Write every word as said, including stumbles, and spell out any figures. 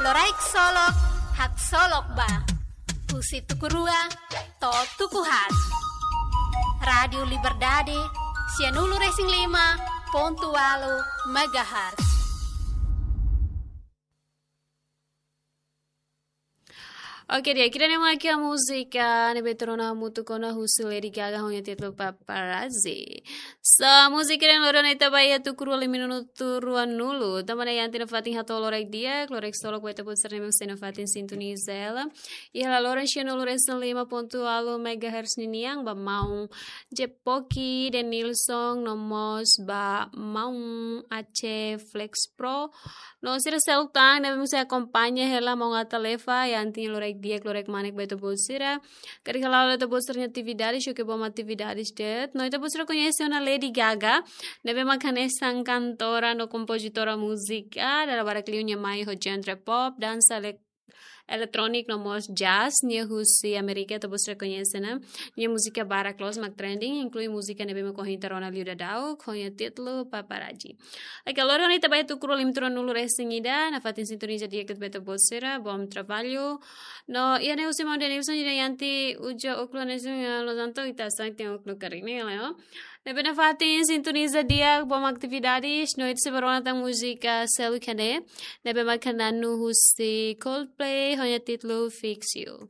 Loraik Solok, haksolok ba. Husi tuku rua to'o tuku haat. Rádiu Liberdade, sianulu-resin-lima pontu ualu megahertz. Oke, di'ak, ida-ne'e mak múzika ne'ebé tuur ona hamutuk ona husi Lady Gaga ho nia títulu Paparazzi. So, múzika ne'e loron ita ba iha tuku rua lima minutu ruanulu. Tanba ne'e iha tiha ona fatin hato'o loraik di'ak, loraik solok ba ita-boot sira ne'ebé sei nafatin sintoniza hela. Iha laloran sianulu-resin-lima pontu ualu megahertz ninian ba maun Jepoki, Denilson, no mós ba maun Aceh Flex Pro. No sira seluk tan ne'ebé mós sei akompaña hela maun Atalefa, iha tiha ona loraik di'ak, loraik manek ba ita-boot sira. Karik hala'o ita-boot sira-nia atividade, só ke bom atividade de'it. No ita-boot sira koñese ona Lady Gaga, ne'ebé mak hanesan kantora no kompozitora múzika, dala barak liu nia mai ho genre pop, dansa elek-, eletróniku no mós jazz, nia husi Amérika, ita-boot sira koñese ona. Nia múzika barak loos mak trending, inklui múzika ne'ebé mak ohin ita rona liu daudaun, ho nia títulu Paparazzi. Oke, loron ita ba iha tuku rua lima minutu ruanulu-resin-ida, nafatin sintoniza di'ak ba ita-boot sira, bom trabalho. No, iha ne'e husi maun Denilson, ida iha tiha uza ókulu ne'e, eh, loos tantu ita sai tiha ókulu karik ne'e, leo. Ne'ebé nafatin sintoniza di'ak, bom atividade, no ita sei ba rona tan múzika seluk iha ne'e, ne'ebé mak nanu husi Coldplay, ho nia títulu Fix You.